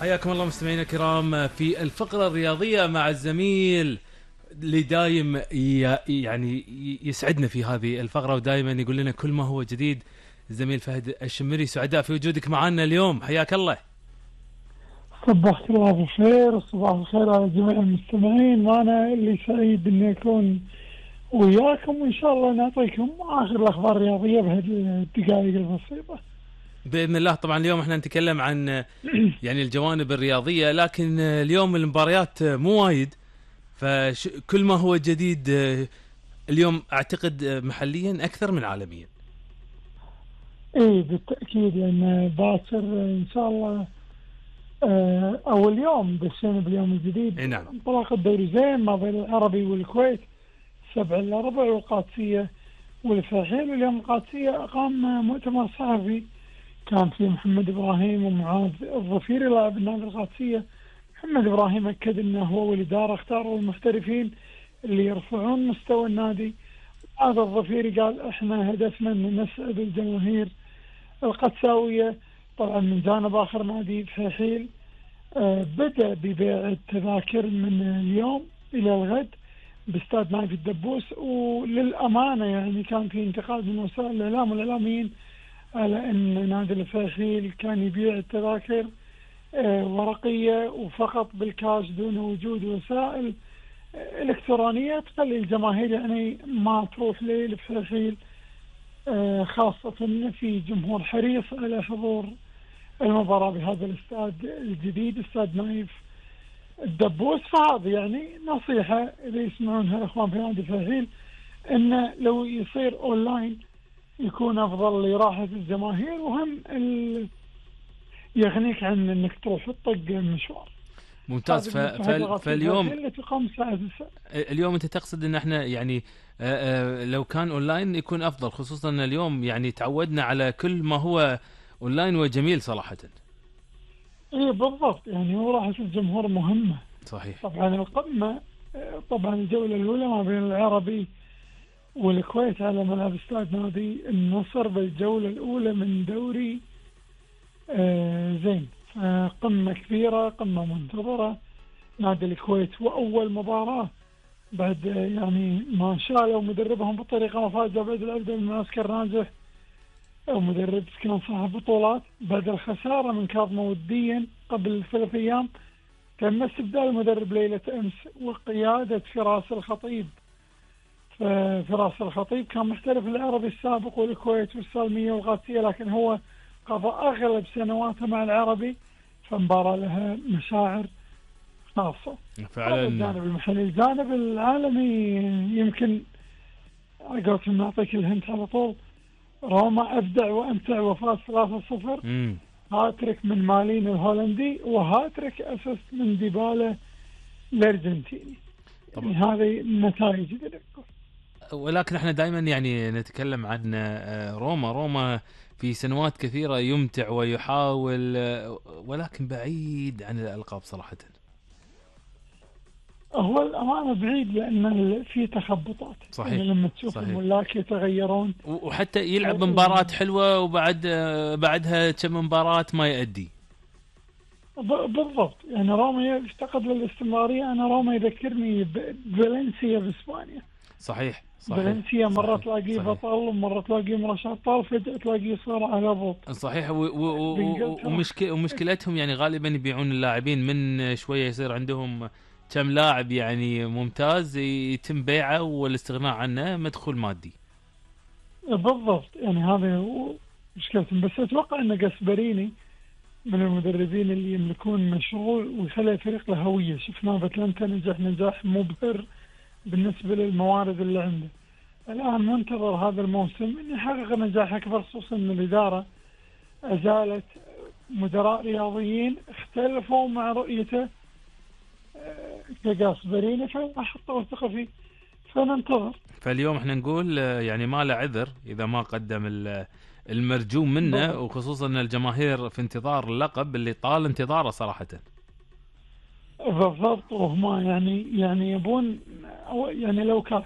حياكم الله مستمعينا الكرام في الفقرة الرياضية مع الزميل اللي دايم يعني يسعدنا في هذه الفقرة ودائما يقول لنا كل ما هو جديد. الزميل فهد الشمري، سعداء في وجودك معنا اليوم، حياك الله. صبحت الله بالخير وصباح الخير على جميع المستمعين، وانا اللي سعيد اني اكون وياكم، وان شاء الله نعطيكم اخر الاخبار الرياضيه بهذه الدقائق البسيطه بإذن الله. طبعا اليوم احنا نتكلم عن يعني الجوانب الرياضية، لكن اليوم المباريات مو وايد، فكل ما هو جديد اليوم اعتقد محليا اكثر من عالميا. اي بالتاكيد، لان باكر ان شاء الله او اليوم دشينا باليوم الجديد. نعم. انطلاق الدوري زين ما بين العربي والكويت 7-4، والقادسيه والفلاحين. واليوم القادسيه اقام مؤتمر صحفي كان فيه محمد ابراهيم ومعاذ الظفيري لاعب النادي القادسيه. محمد ابراهيم اكد انه هو والاداره اختاروا المحترفين اللي يرفعون مستوى النادي. معاذ الظفيري قال احنا هدفنا ان نسعد الجماهير القدساويه. طبعا من جانب اخر نادي فحيل بدأ ببيع التذاكر من اليوم الى الغد باستاد نايف الدبوس. وللامانه يعني كان في انتقاد من وسائل الاعلام والاعلاميين على ان نادي الفحيل كان يبيع التذاكر ورقيه وفقط بالكاش دون وجود وسائل الكترونيه تخلي الجماهير يعني ما تروح للفحيل، خاصه في جمهور حريص على حضور المباراة بهذا الاستاد الجديد، استاد نايف الدبوس. فهذه يعني نصيحة إذا يسمعونها الأخوان في نادي فحيل، إنه لو يصير أونلاين يكون أفضل لراحة الجماهير، وهم يغنيك عن إنك تروح تطق المشوار. ممتاز. فاليوم اللي تقام الساعة 9. اليوم أنت تقصد إن إحنا يعني لو كان أونلاين يكون أفضل، خصوصا إن اليوم يعني تعودنا على كل ما هو اونلاين وجميل صراحة. ايه بالضبط، يعني وراحة الجمهور مهمة. صحيح. طبعا القمة، طبعا الجولة الأولى ما بين العربي والكويت على ملعب استاد نادي النصر بالجولة الأولى من دوري زين. قمة كبيرة، قمة منتظرة. نادي الكويت وأول مباراة بعد يعني ما شالوا مدربهم بطريقة مفاجئة بعد العودة من معسكر ناجح، مدرب كان صاحب بطولات بعد الخسارة من كاظمة وديا قبل 3 أيام. تم استبدال المدرب ليلة أمس وقيادة فراس الخطيب. فراس الخطيب كان محترف العربي السابق والكويت والسالمية والقادسية، لكن هو قضى أغلب سنواته مع العربي، فمباراة لها مشاعر خاصة. فعلا. الجانب المحلي، الجانب العالمي يمكن قلت نعطيك الهنت على طول. روما أبدع وأمتع وفاز 3-0. هاتريك من مالين الهولندي وهاتريك أسست من ديبالا الأرجنتيني. يعني هذه النتائج. ولكن احنا دائما يعني نتكلم عن روما في سنوات كثيرة يمتع ويحاول، ولكن بعيد عن الألقاب صراحة. هو الأمانة بعيد لأن في تخبطات. صحيح. يعني لما تشوف الملاك يتغيرون، وحتى يلعب مباراة حلوة وبعد بعدها كم مباراة ما يؤدي. بالضبط. يعني روما يفتقد للاستمرارية. أنا روما يذكرني بفالنسيا بإسبانيا. صحيح. فالنسيا مرة تلاقيه بطل ومرة تلاقيه مرشح بطل، فجأة تلاقيه صار على هبوط. صحيح. ومشكلتهم يعني غالبا يبيعون اللاعبين، من شوية يصير عندهم كم لاعب يعني ممتاز يتم بيعه والاستغناء عنه مدخول مادي. بالضبط، يعني هذا مشكلتهم. بس أتوقع أن جاسبريني من المدربين اللي يملكون مشروع ويخلي الفريق له هوية. شفناه باتلانتا نجح نجاح مبهر بالنسبة للموارد اللي عنده. الآن منتظر هذا الموسم أن يحقق نجاح أكبر، خصوصا أن الإدارة أزالت مدراء رياضيين اختلفوا مع رؤيته كجاسبريني، فحطوا الثقة فيه. فننتظر. فاليوم احنا نقول يعني ما له عذر إذا ما قدم المرجوم منه، وخصوصا أن الجماهير في انتظار اللقب اللي طال انتظاره صراحة. بالضبط. وهم يعني يبون، يعني لو كاس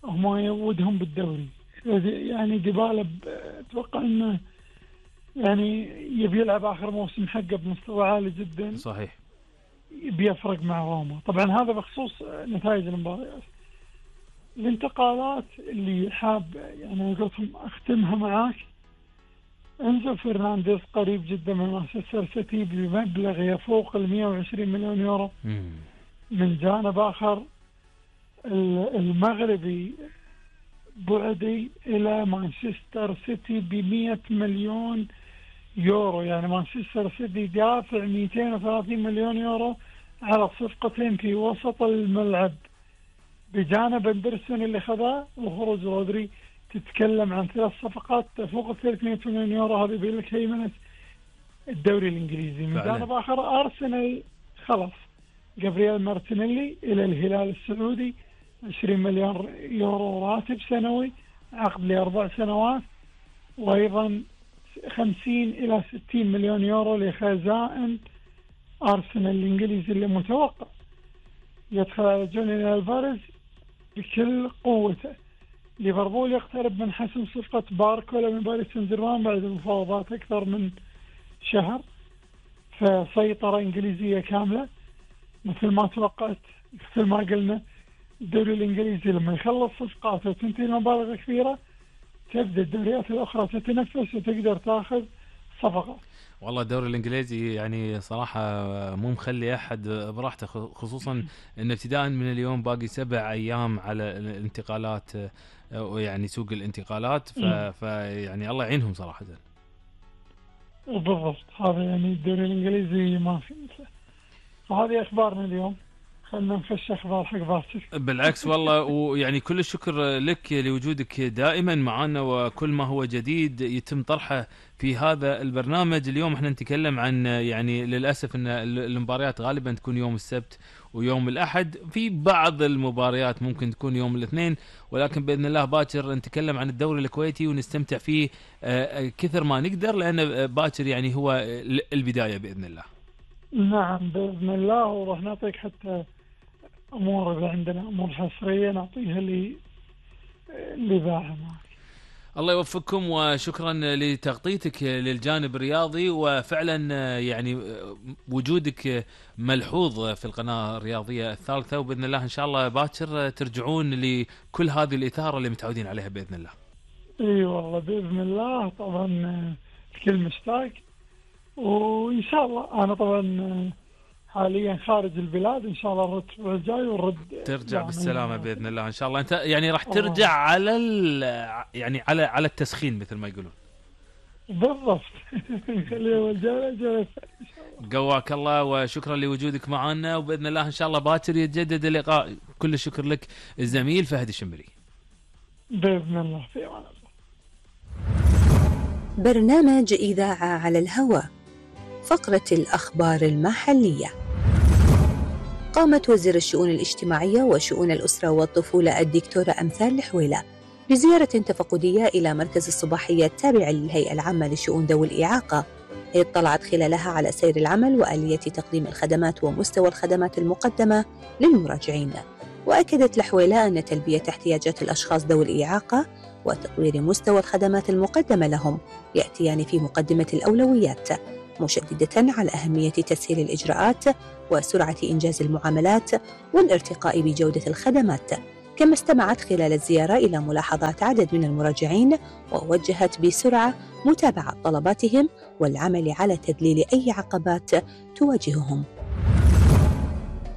هم يودهم بالدوري. يعني ديبالا اتوقع انه يعني يبي يلعب آخر موسم حقه بمستوى عالي جدا، صحيح. بيفرق مع روما. طبعا هذا بخصوص نتائج المباريات. الانتقالات اللي حاب يعني قلتهم أختمها معاك، انزو فرنانديز قريب جدا من مانشستر سيتي بمبلغ يفوق 120 مليون يورو. من جانب آخر المغربي بعدي إلى مانشستر سيتي ب100 مليون يورو، يعني مانشستر سيتي دافع 230 مليون يورو على صفقتين في وسط الملعب، بجانب اندرسون اللي خذاه وخروج رودري. تتكلم عن 3 صفقات تفوق 300 مليون يورو. هذه بيقول لك هيمنة الدوري الإنجليزي. من جانب آخر أرسنال خلص جابرييل مارتينيلي إلى الهلال السعودي، 20 مليون يورو راتب سنوي، عقد ل4 سنوات، وأيضا 50 إلى 60 مليون يورو لخزائن أرسنال الإنجليزي اللي متوقع يدخل على جونيور ألفاريز بكل قوته. ليفربول يقترب من حسم صفقة باركولا من باريس سان جيرمان بعد مفاوضات أكثر من شهر، فسيطرة إنجليزية كاملة مثل ما توقعت. مثل ما قلنا الدوري الإنجليزي لما يخلص صفقاته وتنتهي المبالغ كثيرة، تبدأ الدوريات الأخرى تتنفس وتقدر تأخذ صفقات. والله الدوري الانجليزي يعني صراحه مو مخلي احد براحته، خصوصا ان ابتداء من اليوم باقي 7 ايام على الانتقالات، يعني سوق الانتقالات، يعني الله يعينهم صراحه. بالضبط، هذا يعني الدوري الانجليزي ما في مثله. فهذه اخبارنا اليوم، خلنا نخش اخبار حق باكر. بالعكس والله، ويعني كل الشكر لك لوجودك دائما معنا، وكل ما هو جديد يتم طرحه في هذا البرنامج. اليوم احنا نتكلم عن يعني للاسف ان المباريات غالبا تكون يوم السبت ويوم الاحد، في بعض المباريات ممكن تكون يوم الاثنين، ولكن باذن الله باكر نتكلم عن الدوري الكويتي ونستمتع فيه كثر ما نقدر، لان باكر يعني هو البدايه باذن الله. نعم باذن الله، وراح نعطيك حتى امور، اذا عندنا امور حصريه نعطيها لذاعه معك. الله يوفقكم، وشكرا لتغطيتك للجانب الرياضي، وفعلا يعني وجودك ملحوظ في القناة الرياضية الثالثة، وبإذن الله إن شاء الله باكر ترجعون لكل هذه الإثارة اللي متعودين عليها بإذن الله. اي والله باذن الله، طبعا الكل مشتاق، وإن شاء الله أنا طبعا حاليا خارج البلاد، إن شاء الله الرد الأسبوع الجاي ونرد ترجع بالسلامة بإذن الله إن شاء الله. أنت يعني راح ترجع على يعني على التسخين مثل ما يقولون. بالضبط. خليه الجولة قواك الله، وشكرا لوجودك معنا، وبإذن الله إن شاء الله باكر يتجدد اللقاء. كل الشكر لك الزميل فهد الشمري. بإذن الله، في أمان الله. برنامج إذاعة على الهواء، فقرة الأخبار المحلية. قامت وزير الشؤون الاجتماعية وشؤون الأسرة والطفولة الدكتورة أمثال الحويلة بزيارة تفقدية إلى مركز الصباحية التابع للهيئة العامة لشؤون ذوي الإعاقة، اطلعت خلالها على سير العمل وآلية تقديم الخدمات ومستوى الخدمات المقدمة للمراجعين. وأكدت الحويلة أن تلبية احتياجات الأشخاص ذوي الإعاقة وتطوير مستوى الخدمات المقدمة لهم يأتيان في مقدمة الأولويات، مشددة على أهمية تسهيل الإجراءات وسرعة إنجاز المعاملات والارتقاء بجودة الخدمات. كما استمعت خلال الزيارة إلى ملاحظات عدد من المراجعين، ووجهت بسرعة متابعة طلباتهم والعمل على تذليل أي عقبات تواجههم.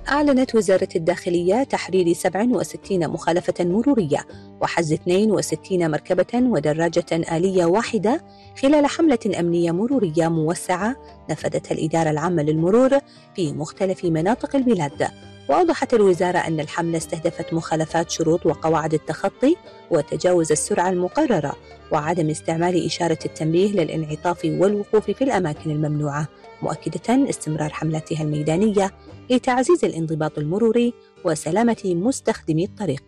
أعلنت وزارة الداخلية تحرير 67 مخالفة مرورية وحجز 62 مركبة ودراجة آلية واحدة خلال حملة أمنية مرورية موسعة نفذتها الإدارة العامة للمرور في مختلف مناطق البلاد. وأوضحت الوزارة أن الحملة استهدفت مخالفات شروط وقواعد التخطي وتجاوز السرعة المقررة وعدم استعمال إشارة التنبيه للانعطاف والوقوف في الأماكن الممنوعة، مؤكدة استمرار حملاتها الميدانية لتعزيز الانضباط المروري وسلامة مستخدمي الطريق.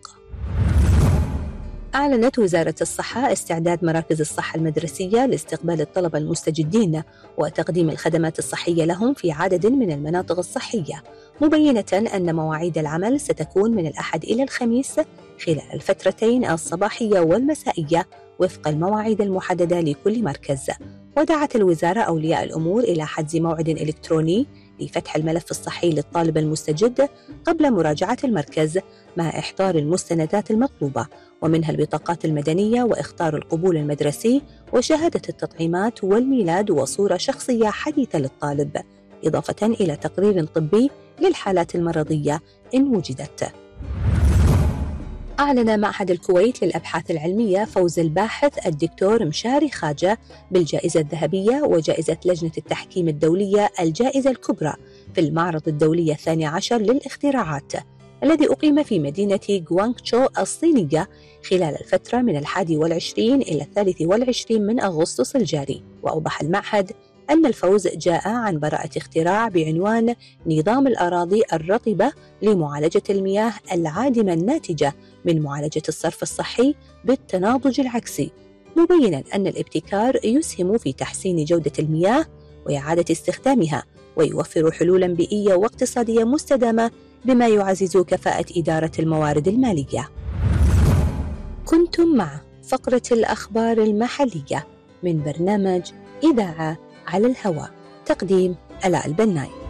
أعلنت وزارة الصحة استعداد مراكز الصحة المدرسية لاستقبال الطلبة المستجدين وتقديم الخدمات الصحية لهم في عدد من المناطق الصحية، مبينة أن مواعيد العمل ستكون من الأحد إلى الخميس خلال الفترتين الصباحية والمسائية وفق المواعيد المحددة لكل مركز. ودعت الوزارة أولياء الأمور إلى حجز موعد إلكتروني لفتح الملف الصحي للطالب المستجد قبل مراجعة المركز مع إحضار المستندات المطلوبة، ومنها البطاقات المدنية وإخطار القبول المدرسي وشهادة التطعيمات والميلاد وصورة شخصية حديثة للطالب، إضافة إلى تقرير طبي للحالات المرضية إن وجدت. أعلن معهد الكويت للأبحاث العلمية فوز الباحث الدكتور مشاري خاجة بالجائزة الذهبية وجائزة لجنة التحكيم الدولية الجائزة الكبرى في المعرض الدولي 12 للاختراعات الذي أقيم في مدينة غوانغتشو الصينية خلال الفترة من 21 إلى 23 من أغسطس الجاري. وأوضح المعهد أن الفوز جاء عن براءة اختراع بعنوان نظام الأراضي الرطبة لمعالجة المياه العادمة الناتجة من معالجة الصرف الصحي بالتناضج العكسي، مبيناً أن الابتكار يسهم في تحسين جودة المياه وإعادة استخدامها ويوفر حلولاً بيئية واقتصادية مستدامة بما يعزز كفاءة إدارة الموارد المالية. كنتم مع فقرة الأخبار المحلية من برنامج إذاعة على الهواء، تقديم آلاء البناي.